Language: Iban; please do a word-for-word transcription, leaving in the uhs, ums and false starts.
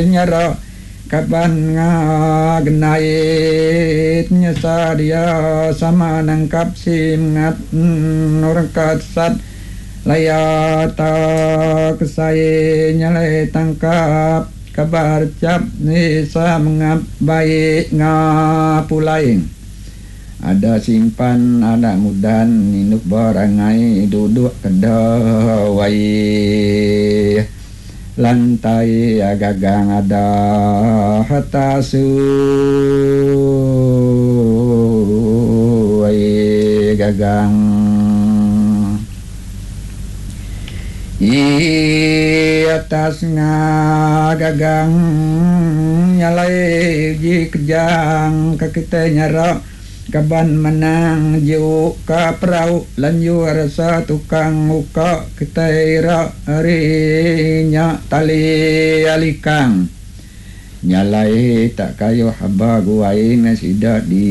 Nyara kaban ngagenait nyesa dia sama nangkap singat orang kasat laya tak kesai nyalai tangkap kabar cap ni sa mengap baik ngapulai ada simpan ada mudan induk berangai duduk kedawai lantai gagang ada hatasu gagang i atas gagang nyalai ji kejang ke kita nyara kaban menang jiu ka perau lanju rasa tukang uka kita ira rinya tali alikang nyalai tak kayu haba guai ngasida di